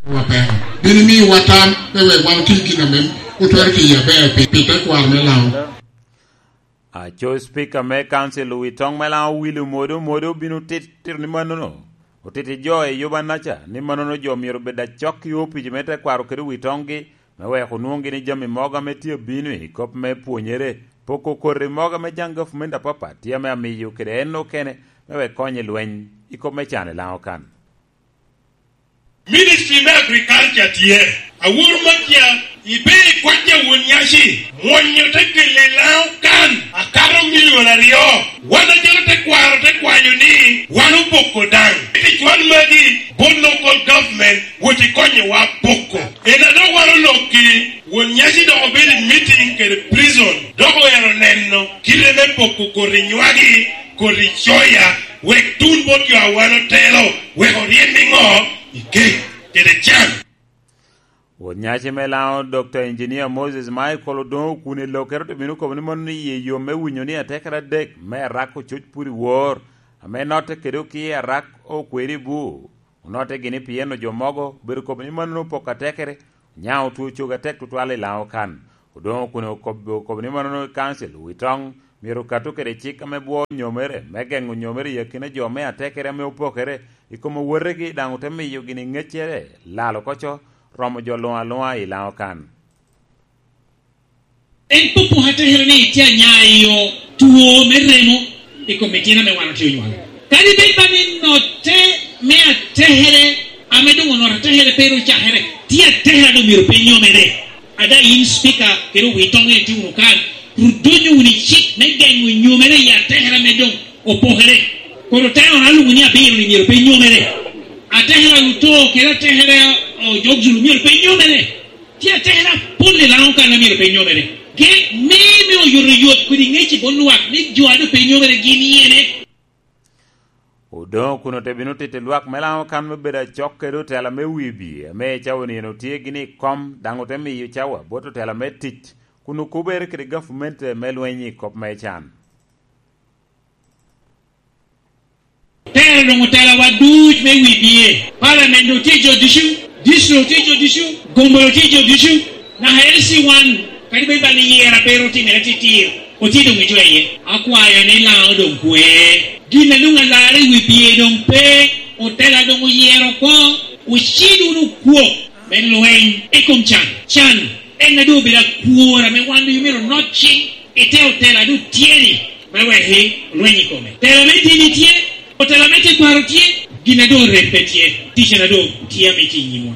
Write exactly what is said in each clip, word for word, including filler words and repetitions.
Wapeko. Bino miwa tam me wek wan oti gin ame otwero tiyo aber pi, pi tekwaro me Laŋo. Aco Speaker me Council wi toŋ me Laŋo Willy Omodo, Omodo obino tito ni mannono otito jo i Yubanaca, ni mannono jo myero obed acok i opic me tekwaro kede wi toŋgi, me wek onwoŋ gini jami mogo ame tye abino i kop me pwonyere, poko koti mogo ame jaŋ gavumenti apapat tye ame amiyo kede en okene, me wek kony i lweny i kop me can i Laŋo kan. Ministry me Agriculture tye. Awor Matia, ibe i kwac a won nyaci, mwonyo te kelle Laŋo kan, akato milion aryo. Wan acalo tekwaro te kwanyo ni wan opoko daŋ. Ticwan magi bot local government wot ikonyowa poko. En a dok wan olokki, won nyaci dok obedo i meeting kede prison, dok oero neno kite me poko koti nywagi, koti coya, wek tun bot jo a wan otelo, wek oryem i ŋo? I kec kede can. Won nyaci me Laŋo, Doctor Engineer Moses Michael Odongo Okune Lokere, ote bino kobo ni mono ni iye yom me winyo ni atekere adek me Arak ococ pwod i wor, ame notte kede okie Arak okwero i bur. Onotte gini pien jo mogo obedo kobo ni mannono opoko atekere, onyaŋo otwo cogo atek tutwal i Laŋo kan. Odongo Okune okob-, okobo ni mannono i Council wi toŋ myero okato kede cik ame bwoo nyomere, me geŋo nyomere i akina jo me atekere ame opokere i kom owotegi, daŋ ote miyo gini ŋeccere lal oko co, romo jo luŋ aluŋa i Laŋo kan. En popo atekere ni tye anyayo two me remo i kom itino ame wan otye onywalo. Kadi bed ba ni notte me atekere ame doŋ onoto atekere pe ru cakere, tye atekere a doŋ myero pe nyomere. Ada yin Speaker kede owi toŋ en itye wunu kan, ru donyo wunu i cik me geŋo nyomere i atekere ame doŋ opokere. Kono te ora luŋo ni abiro ni myero pe nyomere. Atekere a luto kede atekere a, o, jok Zulu myero pe nyomere. Tye atekere apol i Laŋo kan a myero pe nyomere. Ge me, me oyotoyot kodi ŋec i bot lwak ni jo a doŋ pe nyomere gin yene. Odoŋo kun ote bino tito lwak me Laŋo kan me bedo acok kede otela me wibye, ame i cawa nino tye gini i kom, daŋ ote miyo cawa bot otela me tic, kun okubere kede gavumenti me lweny i kop me can. Tero doŋ otelawa duc me wibye. Parliament doŋ tye jo ducu, district doŋ tye jo ducu, gombo doŋ tye jo ducu, naka L C one, kadi bed bal ni yera pe ru timere titir, otye doŋ i jo iye. Akwayo ni Laŋo doŋ kwe. Gin a doŋ alarre i wibye doŋ pe, otela doŋ oyero oko, ocid wunu kwok me lweny i kom can. Can en a doŋ obedo akwor ame wan doŋ myero onot ciŋ i te otela a doŋ tye-ni, me wek i lweny i kome. Tela me dini tye, otela me tekwaro tye, gin a doŋ orem pe tye, ticen a doŋ tye ame tye i nyimwa.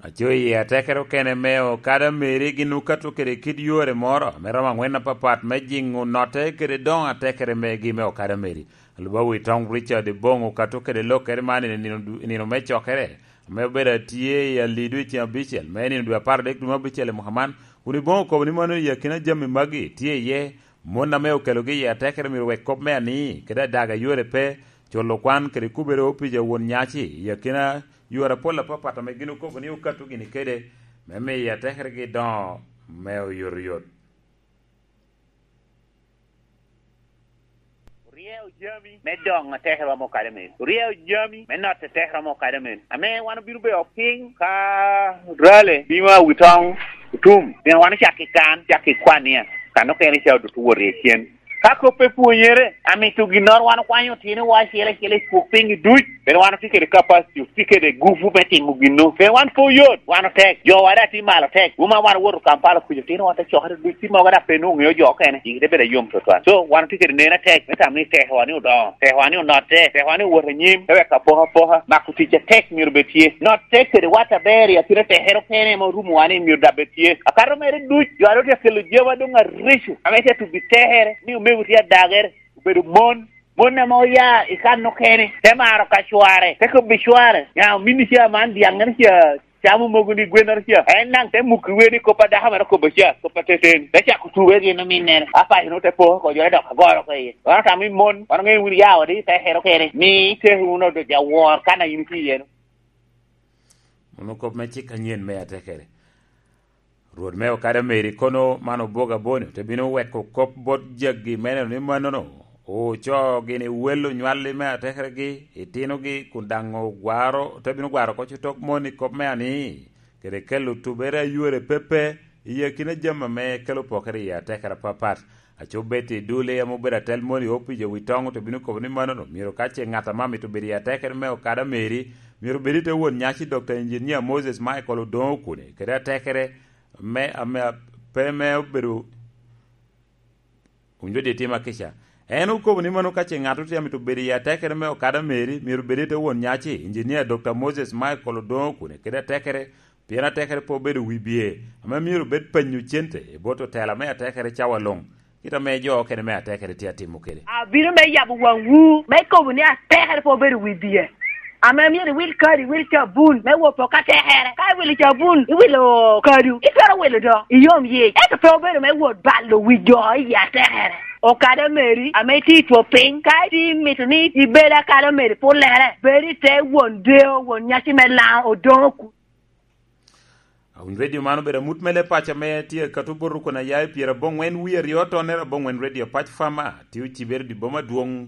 Aco i atekere okene me okada meri gin okato kede kit yore moro me romo aŋwen apapat me jiŋo notte kede doŋo atekere megi me okada meri. Alubawi Tom Richard Ebong okato kede lokere man i nino du-, i nino me cokere, ame obedo atye i Alido i ceng abicel me nino dwe apar adek dwe me abicel i mwaka man, kun Ebong okobo ni mano i akina jami magi tye iye mon ame okelogi i atekere myero wek kop me ani kede adaga yore pe, culo kwan kede kubere opic a won nyaci i akina yore apol apapat ame gin okobo ni okato gini kede me miyo atekeregi doŋo me oyotoyot. Oryeo jami me doŋo atekere romo kare men. Oryeo jami me notte atekere romo kare men. Ame wan obino bedo piny ka rale bino a wi toŋ otum. Pien wan ocako i kan, ocako i kwan nia, kan okene ca odutu wot i cen. Ka kop pe pwonyere, amito ginnoro wan okwanyo otino wa acel acel i pwok piny duc. Pien wan otye kede capacity, otye kede gupu me timo ginno. Pien wan pe oyot, wan otek. Jowa daŋ tye malo tek. Wuma wan owoto Kampala kuca, otino wan te cokere duc, tye mogo daŋ pe nwoŋo ŋeo jo okene. Cik te bedo ayom twatwal. So, wan otye kede neno atek, me tamo ni tekowa ni odoŋo, tekowa ni onotte, tekowa ni owot anyim, te wek apokapoka, mako tic atek myero bed tye. Notte kede wat aber i akina tekere okene ame orumowa ni myero daŋ bed tye. Akato mere duc, jo a doŋ tye kelo jami adoŋ areco, ame tye atubi tekere, ni omego tye adagere, obedo mon. Mon ame oya i kan okene, te maro ka cware, te kobbi cware, "Nya, ominni ca man dyaŋŋere ca, camo mogo ni gwennoro ca." En daŋ te mukki wer ni kop a dako mere okobo ca, kop ateten. Te cako tube gin ominnere. Apaco nwoŋo te po oko, jo te dok agoro oko iye. Wan otamo i mon, wan oŋeyo wun ya odi, te hero kene. Mi iteko wunu odoc awor, kan a in itye iye-nu. Mano kop me cik anyen me atekere. Rwot me okada meri kono man oboga boni, te bino weko kop bot jaggi me neno ni mannono Ocoo gini wel onywalli me atekeregi, itinogi, kun daŋ ogwaro, te bino gwaro oko cotok mon i kop me ani, kede kelo tubere a ywere pepe i akina jami ame kelo pokere i atekere apapat. Aco Betty Dule ame obedo atel mon i opic a wi toŋo te bino kobo ni manono, myero ka ce ŋat ame amito bedo i atekere me okada Mary, myero bed i te won nyaci Doctor Engineer Moses Michael Odongo Okune, kede atekere me, ame, pe me obedo Owinjo di tim akica. En okobo ni mano ka ce ŋat otye amito bedo i atekere me okada Mary, myero bed i te won nyaci, Engineer Doctor Moses Michael Odongo Okune kede atekere, pien atekere pe obedo wi bye, ame myero bed penyo cente i bot otela me atekere cawa luŋ, kit ame jo okene me atekere tye atimo kede. Abino me yabo waŋwu, me kobo ni atekere pe obedo wi bye. Ame myero iwil kadi, iwil cabun me wot poko atekere. Ka iwilo cabun, iwilo kadu, itwero wilo do, iyom yic. Ento pe obedo me wot balo wi jo i atekere. Okada Mary ame itye i two piny, ka itye imito ni ibed akada Mary pullere, bed i te won deo, won nyaci me Laŋo Odongo Okune. Awiny redio man obedo amut me le paco ame tye akato bot rukon aya i pyerabongwen wie aryo tonnere abongwen redio pac fama tye ocibere di boma adwoŋ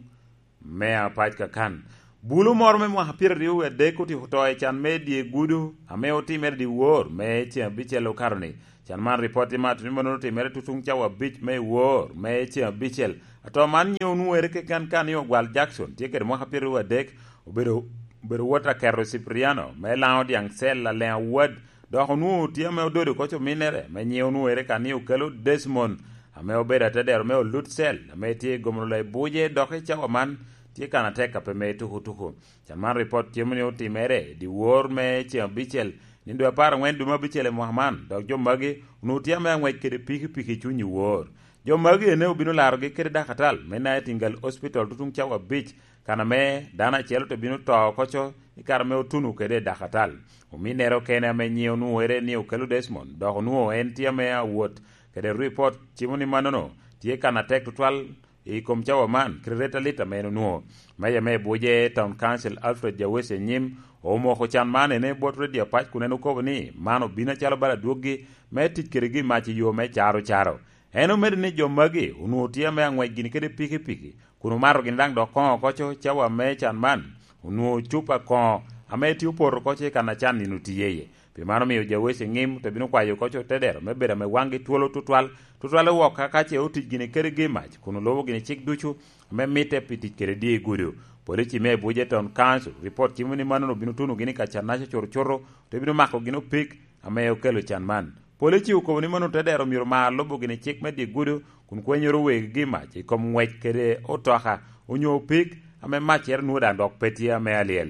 me apac kakan. Bulu moro me mwaka pyeraryo wie adek otyeko to i can me dye gudo ame otimere di wor me ceŋ abicel okato-ni. Can man ripot tye mato ni mano otimere tutuŋ cawa abic me wor me ceŋ abicel. Ato man nyiŋe onwoŋere keken ka ni Ogwal Jackson tye kede mwaka pyeraryo wie adek, obedo, obedo wot aketo Cipriano me Laŋo Dyaŋ Cel Aleŋ Awad, dok onwoŋo tye ame ododo oko cominnere me nyiŋe onwoŋere ka ni Okelo Desmond, ame obedo atedero me Olut Cel, ame tye i gomolo i buce, dok i cawa man tye kan atek a pe me tuko tuko. Can man ripot tye ni otimere i dyewor me ceŋ abicel, nino dwe apar aŋwen dwe me abicel i mwaka man, dok jo magi onwoŋo tye ame aŋwec kede pikipiki i cuny i wor. Jo magi ene obino larogi kede dakatal me Nightingale Hospital tutuŋ cawa abic, kan ame dano acel ote bino to oko co i kare ame otuno kede i dakatal. Ominnere okene ame nyiŋe onwoŋere ni Okelo Desmond, dok onwoŋo en tye ame awot kede ripot cimo ni manono tye kan atek tutwal i kom cawa man, kede ret alit ame en onwoŋo. Meja me Abuja Town Council Alfred Jawesi Enyim omoko can man ene bot redio apac kun en okobo ni man obino acalo bala adwoggi me tic kedegi mac i yo me caro caro. En omedo ni jo magi onwoŋo tye ame aŋwec gini kede pikipiki, kun omato gini daŋ dok koŋo oko co cawa me can man, onwoŋo cupa koŋo ame tye opoto oko co i kan a can nino tye iye. Pi man omio Jawesi Enyim te bino kwayo oko co tedero me bedo ame waŋgi twolo tutwal, tutwal wok ka ka ce otic gini kedegi mac, kun olubo gini cik ducu ame mitte pi tic kede dye gudo. Polici me Abuja Town Council ripot cimo ni mano obino tuno gini ka cannaca curucuru, te bino mako gini opik ame okelo can man. Polici okobo ni mano tedero myero mar lubo gini cik me dye gudo, kun kwenyoro wegigi mac i kom ngwec kede otoka onyo opik ame maccere nwoŋo daŋ dok pe tye ame alyel.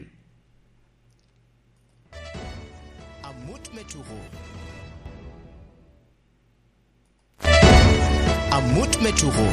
Amut me tuko. Amut me tuko.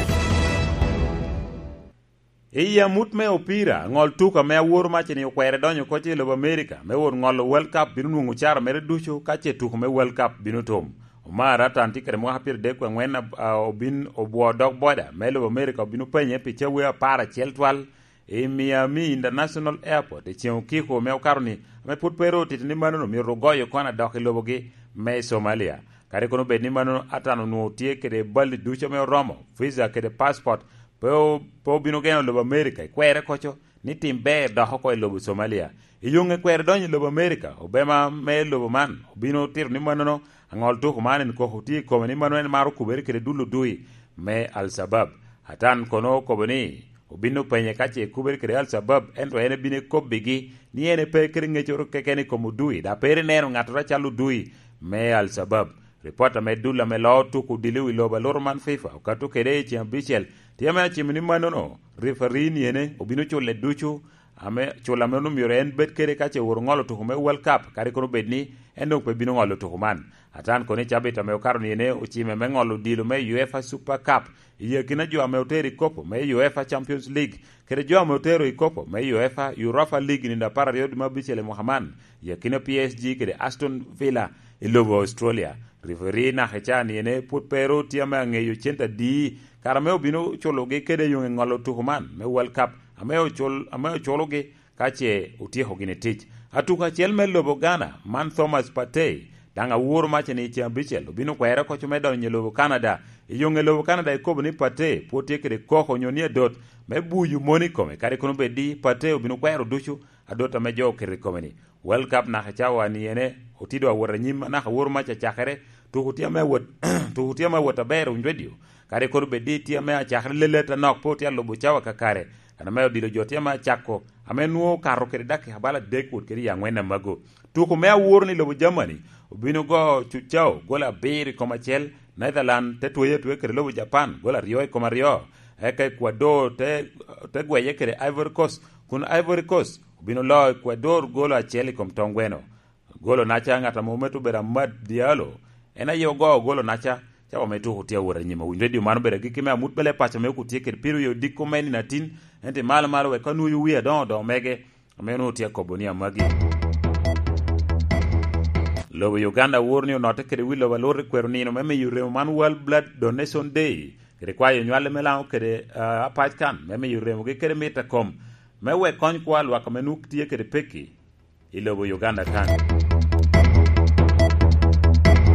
I amut me opira, ŋol tuko ame aworo mac-ni okwere donyo oko i lobo Amerika me wot ŋolo World Cup bino nwoŋo ocara mere ducu ka ce tuko me World Cup bino tum. Omar Atan tye kede mwaka pyeradek wie aŋwen a, a, obin obwo dog boda me lobo Amerika obino penye pi cawe apar acel twal i Miami International Airport i ceŋ okiko me okato-ni, ame pwod pe ru otito ni manono myero ogoyo kona dok i lobogi me Somalia. Kadi kono bed ni manono Atan onwoŋo tye kede bal ducu ame oromo, visa kede passport, pe o-, pe obino geno lobo Amerika i kwerre koco ni tim ber dok oko i lobo Somalia. I yoŋe kwero donyo i lobo Amerika, obema me lobo man obino tito ni manono aŋol tuko man en koko tye i kome ni mano en maro kubere kede dulo dui me Al-Shabab. Atan kono okobo ni obino penye ka ce kubere kede Al-Shabab, ento en ebino ekobbigi ni en pe kede ŋecoro keken i kom odui, dok pe ri neno ŋattoro acalo odui me Al-Shabab. Ripot ame dul ame loo tuko odilo i lobo aluro man fifa okato kede i ceŋ abicel, tye ame acimo ni manono, refari ni ene obino cule ducu, ame cula ame onwoŋo myero en bed kede ka ce oworo ŋolo tuko me World Cup, kadi kono bed ni en doŋ pe bino ŋolo tuko man. Atan kono i cabit ame okato ni ene ocime me ŋolo odilo me UEFA Super Cup, i akina jo ame otero i kopo me UEFA Champions League, kede jo ame otero i kopo me UEFA Europa League i nino apar aryo dwe me abicel i mwaka man, i akina P S G kede Aston Villa i lobo Australia. Referi naka ca ni ene pwod pe ru tye ame aŋeyo cente adi, kara ame obino culogi kede yoŋe ŋolo tuko man me World Cup, ame ocul-, ame oculogi ka ce otyeko gini tic. Atuko acel me lobo Ghana, man Thomas Partey, Daŋ aworo maca ni i ceŋ abicel obino kwere oko me donyo i lobo Kanada. I yoŋ i lobo Kanada ekobo ni Pate pwod tye kede koko onyo ni adot me buyo moni i kome, kadi kono bed ni Pate obino kwero ducu adot ame jo oketo i kome-ni. World Cup naka cawa ni ene otye doŋ awot anyim, naka aworo maca cakere, tuko tye ame awot, tuko tye ame awot aber, owiny redio. Kadi kono bed ni tye ame acakere lelet anok, pe otye alubo cawa kakare. Kan ame odilo jo tye ame acako, ame nwoŋo okato kede dakika bala adek wot kede i aŋwen amago. Tuko me aworo ni lobo Germany obino go Cucao gol abiro i kom acel, Netherlands te tweye atweya kede lobo Japan gol aryo i kom aryo, eka Ecuador te, te gweye kede Ivory Coast, kun Ivory Coast obino loo Ecuador gol acel i kom tongweno. Golo naca ŋat ame omito bedo Amad Diallo, en aye ogo golo naca, cawa me tuko tye awot anyim. Owiny redio, man obedo agikki me amut bele paco me okutye kede piro i odiko me nino atin, ento i malo malo wek ka nwoyo wie adoŋo doŋo mege, ame onwoŋo tye akobo ni amagi. Lobo Uganda woro ni onotte kede wi lobo alur i kwero nino me miyo remo man World Blood Donation Day, kede kwayo onywale me Laŋo kede, ah, apac kan, me miyo remogi kede mit a kom, me wek kony kwo a lwak ame nwoŋo tye kede pekki i lobo Uganda kan.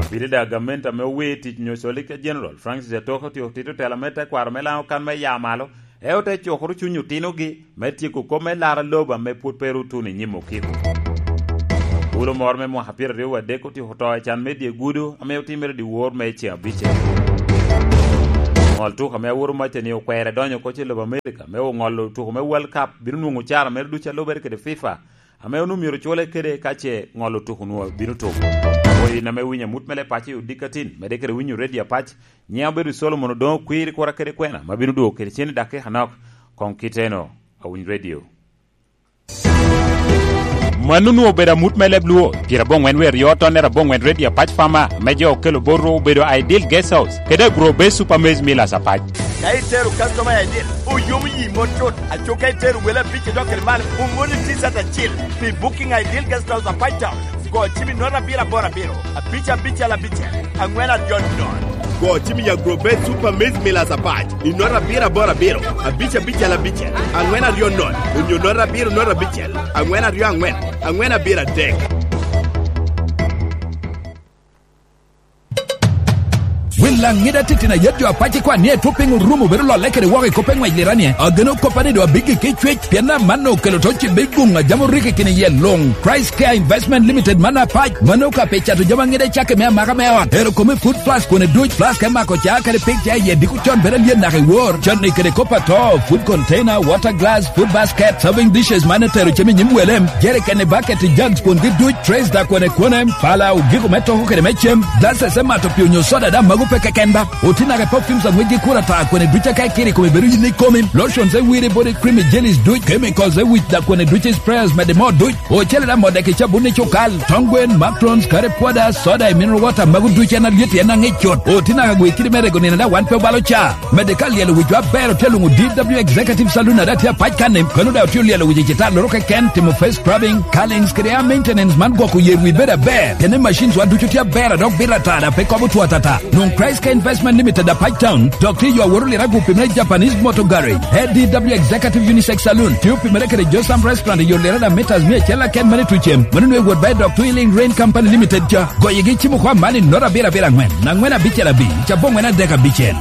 Abitida gamente ame owir tic onyo Solicitor General Francis Atoka otyeko tito tela me tekwaro me Laŋo kan me ya malo, e ote cukoro cuny otinogi me tyeko kop me laro lobo ame pwod pe ru otuno i nyim okiko. Bulo moro me mwaka pyeraryo wadek otyeko to i can me dye gudo ame otimere dyewor me ceŋ abicel. Ŋol tuko ame aworo macca ni okwere donyo oko i lobo Amerika me oŋolo tuko me World Cup bino nwoŋo ocara mere ducu a lubere kede FIFA, ame onwoŋo myero cule kede ka ce ŋolo tuko onwoŋo bino tuko. Oyin ame winyo amut me leb paco i odiko atin, medde kede winyo redio apac, nyiŋa obedo Solomon Odoŋo Kwir, kura kede kwena, ma bino dwogo kede cen i dakika anok. Koŋ kiteno, awiny redio. Mano onwoŋo obedo amut me leb Luo, pyeraboŋwen wie aryo tonnere aboŋwen redio apac Farmer, ame jo okelo bot rwok obedo Ideal Guest House, kede Agro Base Super Maize Millers apac. Ka itero customer I D, oyomo yi mot cut. Aco ka itero wele abic idok kede malo, oŋolli T-shirt acil pi booking Ideal Guest House apac Town. Go cim i note abiro aboro abiro, abic abicel abicel, aŋwen aryo nono. Go cim i Agro Base Super Maize Millers apac i note abiro aboro abiro, abic abicel abicel, aŋwen aryo nono, onyo note abiro note abicel, aŋwen aryo aŋwen, aŋwen abiro adek. Wel Laŋet atitino a yet jo apac ikwan ni etwo piny orumo bedo lolle kede woko i kop pe ŋwec lirani. Ageno koppa ni doŋ abiggi ki cwec, pien amanno okelo to cibbe i guŋ a jami orikki kine iye luŋ. Christ Care Investment Limited man apac, mano ka pe cato jami aŋet acakki me amaka me ot. Ero kome food plus kwone duc, plus ka imako ca kede pig ca iye diko con bedo alyen naka i wor. Canni kede kop ato, food container, water glass, food basket, serving dishes man etero cem i nyim welem, jerikeni, baketi, jugs kwongi duc, trays da kwone kwone, pala, ogiko me toko kede me cem, glasses me mato pii onyo soda da mago pe keken ba. Oti naka perfumes a ŋwecgi kur ata kwene duc aka ikiro i kome bedo yin ikomi, lotions e wiri body cream i jellies duc, chemicals e wic da kwene duc i sprayers mede moo duc, ocele da modde ki cabun i cukal, tong gwen, macarons, curry powder, soda i mineral water mago duc en alyet en aŋic cut. Oti naka gwe kidi me rego nino da wan pe obalo ca. Medde ka lyelo wicwa aber otye luŋo D W Executive Saloon a daŋ tye apac kanni, kano daŋ otye olyelo wic i citar loro keken, timo face scrubbing, curlings kede hair maintenance man gwoko yer wi bedo aber. Kene machines wa ducu tye aber a dok bito ata daŋ pe kobo two atata. Nwoŋ Christ Care Investment Limited apac town, dok tye yo aworo liragu pi me Japanese Motor Garage. A D W Executive Unisex Saloon, tye opimere kede Josam Restaurant i yo lirada meters mia acel aken mane tucem. Mano nwe wot ba i dok Twilling Rain Company Limited ca. Goyigi cimo kwa man i note abiro abiro aŋwen, aŋwen abicel abic, aboŋwen adek abicel.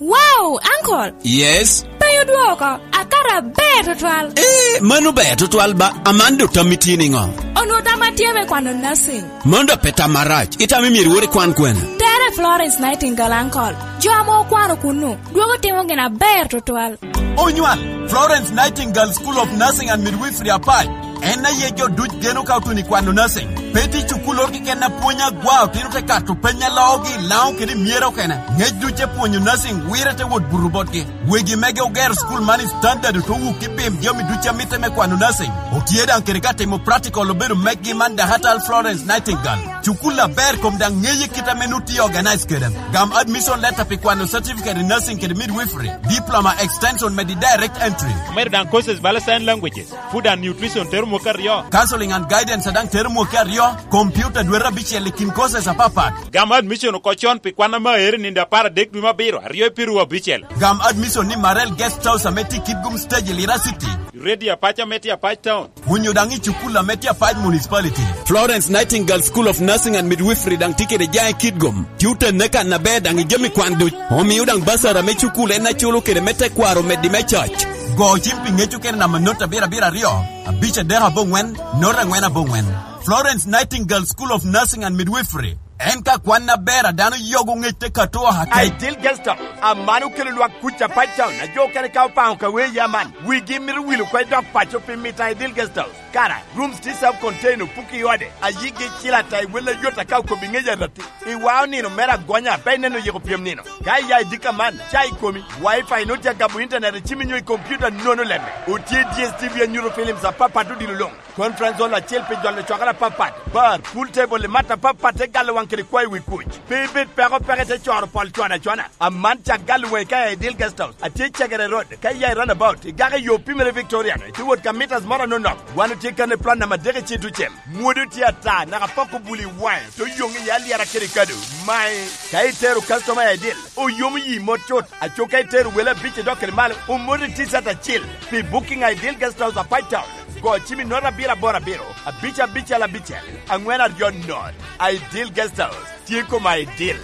Wow, uncle! Yes? Pe odwoko, akato aber tutwal. Eh, mano ber tutwal ba, aman do tammi tye niŋo? Onwo tamma tye me kwano nursing. Mano do pe tam marac, itamo myero iwor ikwan kwene? Tere Florence Nightingale, uncle. Jo ame okwano kunnu, dwogo timo gin aber tutwal. Onywal, Florence Nightingale School of Nursing and Midwifery apac. En aye jo duc geno ka otuno i kwano nursing. Pe tye cukul oro keken a pwony agwa, otino te kato peny a loogi i Laŋo kede i Myera okene. Ŋec duc e pwonyo nursing wire te wot buto botgi. Wegi mege ogero cukul man i standard, ote wuk i pim jami duc a mitte me kwano nursing. Otye daŋ kede ka timo practical obedo meggi man Dakatal Florence Nightingale. Cukul aber kom daŋ ŋeye kit ame nut tye organize kede. Gam admission letter pi kwano certificate in nursing kede midwifery, diploma, extension medi direct entry. Omedo daŋ courses bala sign languages, food and nutrition tero mwaka aryo. Counseling and guidance daŋ tero mwaka aryo, computer dwete abicel i kin courses apapat. Gam admission oko con pi kwan ame aero i nino apar adek dwe me abiro, aryo i piru abicel. Gam admission ni Marel Guest House ame tye i Kitgum Stage i Lira City. Ready Apac ame tye Apac Town. Onyo daŋ i cukul ame tye Apac Municipality. Florence Nightingale School of Nursing and Midwifery daŋ tye kede jaŋ i Kitgum. Tye otenne kan aber daŋ i jami kwan duc. Omio daŋ basara me cukul en aculo kede me tekwaro omeddi me coc. Go cim pi ŋec okene namba not abiro abiro aryo, abic adek aboŋwen, not angwen aboŋwen. Florence Nightingale School of Nursing and Midwifery. En ka kwan aber a dano yogo ŋec te kato oha kec. Ideal Guest House, aman okelo lwak kuc Apac Town, a jo okene ka opaŋo ka wee ya man. Wigi mito wilo oko i dog paco pi mito Ideal Guest House. Kara, rooms tye self contained, opuki i ode, a yigi cil ata i wel ayot aka okobi ŋec aratti. I wa onino mere agonya, pe ineno yiko pyem nino. Ka iya i dika man, ca i komi, Wi-Fi nut ya gabo internet i cimi nyo i computer nono lemme. Otye D S T V anyuto films apapat odilo luŋ. Conference hall acel pi jolo cwakere apapat, bar, pool table, i mat apapat te galo waŋ kede kwayo wi kuc. Pe ibed peko peke te coro pol cwana cwana. Aman cak galo waŋi ka i Ideal Guest House, atye i Cegere Road, ka iya i roundabout, igako i yo Pimere Victorian, ite wot ka meters moro anonok. Wan otye kan i plan namba adek i Citucem. Mwodo tye ata, naka poko buli i waŋe, to yoŋ i alyera kede kado. Mae, ka itero customer i Ideal, oyomo yi mot cut, aco ka itero wele abic i dok kede malo, omoti T-shirt acel. Pi booking i Ideal Guest House Apac Town, go cim i nota abiro aboro abiro, abic abicel abicel, angwen aryo not. Ideal Guest House, tye koma Ideal.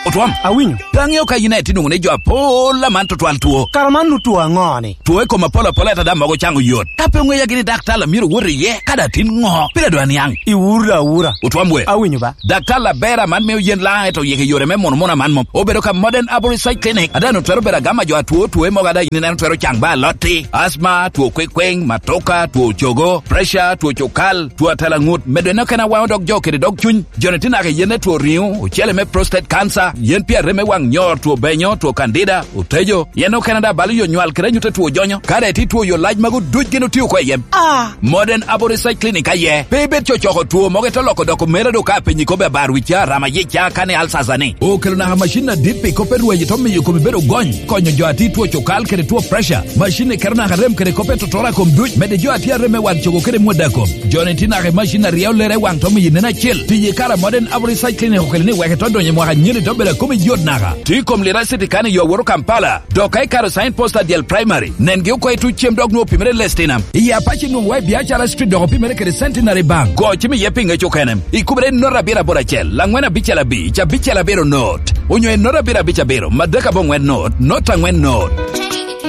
Otwom. Awinyo. Pe aŋeo ka yin aye tye nwoŋo ni jo apol aman tutwal two. Kara man nu two aŋo ni? Two i kom apol apol ata daŋ mogo caŋo yot. Ka pe oŋeya gini daktar a myero wot iye, ka daŋ tin ŋo? Pire dwa niaŋ. Iwura awura. Otwom we. Awinyo ba. Daktar aber aman mio yen laŋ ento yik i yore me muno muno aman mom. Obedo ka Modern Arborist Side Clinic, a daŋ otwero bedo agama jo atwo two mogo a daŋ yin ineno twero caŋ ba alotti, asma, two kwekweŋ, matoka, two cogo, pressure, two cukal, two atalaŋut, medo en okene awaŋo dog jo kede dog cuny. Joni tye naka i yen me two riŋo, ocele me prostate cancer, yen pi arem me waŋ nyor, two benyo, two candida, otejo, yen okene daŋ balo yo nywal kede anyut a two jonyo. Ka daŋ itye two yo lac magu duc gin otio oko i yem. Ah. Modern Arborist Side Clinic aye. Pe ibed cocoko two mogo ite loko doko mere do ka apenyi kobbe abar wicca, rama yica, kani alsasa ni. Okelo naka macin adit pi kop me rweny ito miyo komi bedo gony, konyo jo a tye two cukal kede two pressure. Macin ni keto naka rem kede kop me totoro a kom duc, medde jo a tye arem me wan cogo kede mwada kom. Joni tye naka i macin a ryeo lere i waŋ to miyo nen acil. Tiyo i kare a Modern Arborist Side Clinic okelo ni wek ito donyo i mwaka anyira ito bedo a komi yot naka. Tye i kom Lira City kan i yo awoto Kampala. Dok ka ikato sign post adyel primary, nengi oko i tuc cem dok nwoŋo opimere Lestinam. I Apac nwoŋo wa i Biacara Street dok opimere kede Centenary Bank. Go cim iye pi ŋec okene. Ikubere i nota abiro aboro acel, angwen abicel abic, abicel abiro not. Onyo i nota abiro abic abiro, madek aboŋwen not, not angwen not.